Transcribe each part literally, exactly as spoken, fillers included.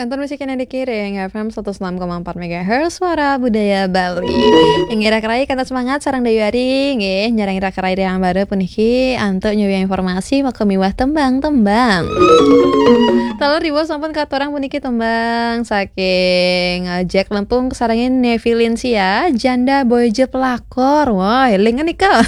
Kantor musik yang dikiring F M seratus enam koma empat megahertz, Suara Budaya Bali. Yang kira-kira kata semangat sarang Dayu Ari nggih, nyarang kira-kira yang baru puniki antuk nyuwun informasi maka miwah tembang-tembang. Taler riwuh sampun katurang puniki tembang saking, eh, Jack Lempung sarengin Nevi Linsia, Janda Boy Jeplakor. Wah, eling nika.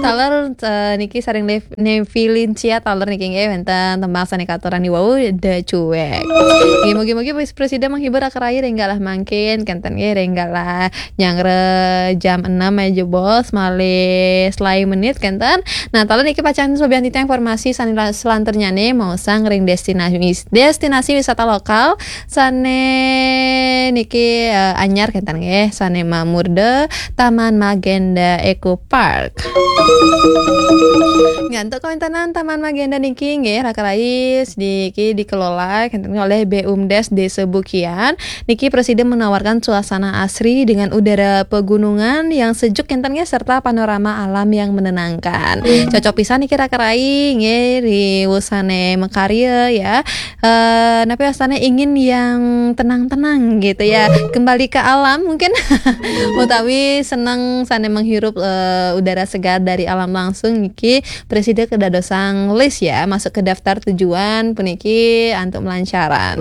Taler, eh, niki sareng Lev-, Nevi Linsia taler niki nggih wenten tembang sane katurang niwau The Cuek. Nggih, mugi-mugi pres-, presida menghibur akerai ring galah mangkin kenten nggih ring galah nyanggra jam enam aja bos malih selae menit kenten. Nah, taler niki pacang sobian titiang informasi sane la-, selanturnyane maosang ring destinasi, destinasi wisata lokal sane niki, eh, anyar kenten nggih, sane mamurda Taman Magenda Eco Park. Ngantuk kawentenan Taman Magenda niki nggih rakerai niki dikelola kenten oleh BUMDes Desa Bukian. Niki presiden menawarkan suasana asri dengan udara pegunungan yang sejuk kenten nggih serta panorama alam yang menenangkan. Cocok pisan niki rakerai nggih riwuh sane makarya ya. Eh, napi wastane ingin yang tenang-tenang gitu ya, kembali ke alam mungkin utawi seneng sane menghirup, eh, udara segar dari alam langsung niki presida kedadosang list ya, masuk ke daftar tujuan puniki antuk melancaran.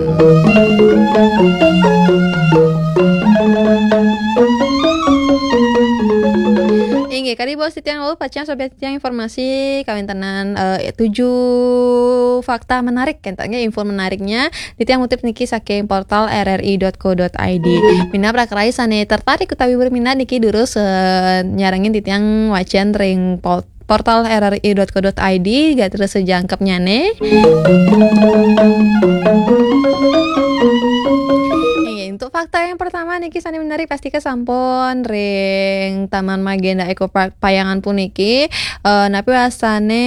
Inggih, kadi bos titiang wau pacang sobian titiang informasi kawentenan, eh, tujuh fakta menarik kenten nggih, info menariknya titiang ngutip niki saking portal R R I dot co dot I D. Minab rakerai sane tertarik utawi berminat niki durus, eh, nyarengin titiang wacan ring pol-, portal R R I dot co dot I D, gatra sejangkepnyane. Inggih, untuk fakta yang pertama niki sane menarik pasti kesampun ring Taman Magenda Eco Park Payangan puniki, eh, napi wastane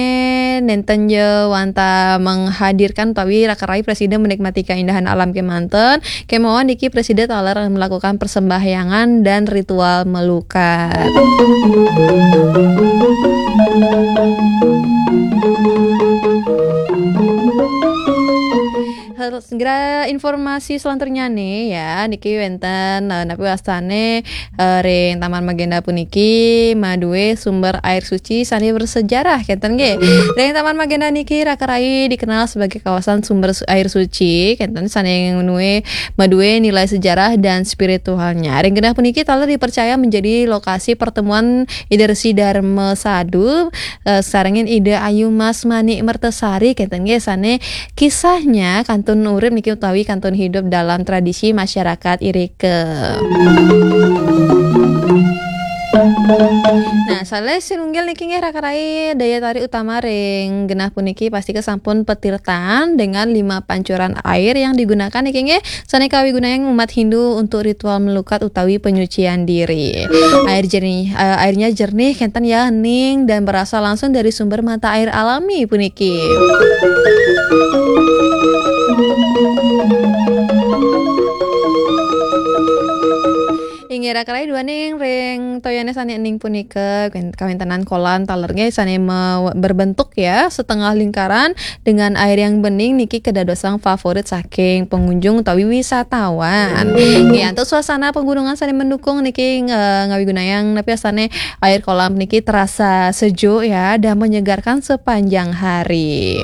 nenten ja wantah menghadirkan utawi rakerai presida menikmati keindahan alam kemanten, kemawon niki presida taler melakukan persembahyangan dan ritual melukat. Hal-, segera informasi selanturnyane ya, niki wenten, eh, napi wastane, eh, ring Taman Magenda puniki madue sumber air suci sane bersejarah kenten nggih. Ring Taman Magenda niki rakerai dikenal sebagai kawasan sumber su-, air suci kenten sane nue madue nilai sejarah dan spiritualnya. Ring genah puniki taler dipercaya menjadi lokasi pertemuan Ida Resi Darma Sadu, eh, sarengin Ida Ayu Mas Manik Mertasari kenten nggih sane kisahnya kantun urip niki utawi kantun hidup dalam tradisi masyarakat irika. Nah, salah sinunggil niki nggih rakerai daya tarik utama ring genah puniki pasti kesampun petirtan dengan lima pancuran air yang digunakan niki nggih sane kawigunayang umat Hindu untuk ritual melukat utawi penyucian diri. Air jernih, eh, airnya jernih kenten ya, hening dan berasal langsung dari sumber mata air alami puniki. Inggih rakerai duaning ring toyane sane ening punika, kawen-, kawentenan kolam taler nggih sane me-, berbentuk ya setengah lingkaran dengan air yang bening niki kedadosang favorit saking pengunjung utawi wisatawan. Nggih, antuk suasana pegunungan sane mendukung niki, eh, ngawigunayang napi wastane air kolam niki terasa sejuk ya dan menyegarkan sepanjang hari.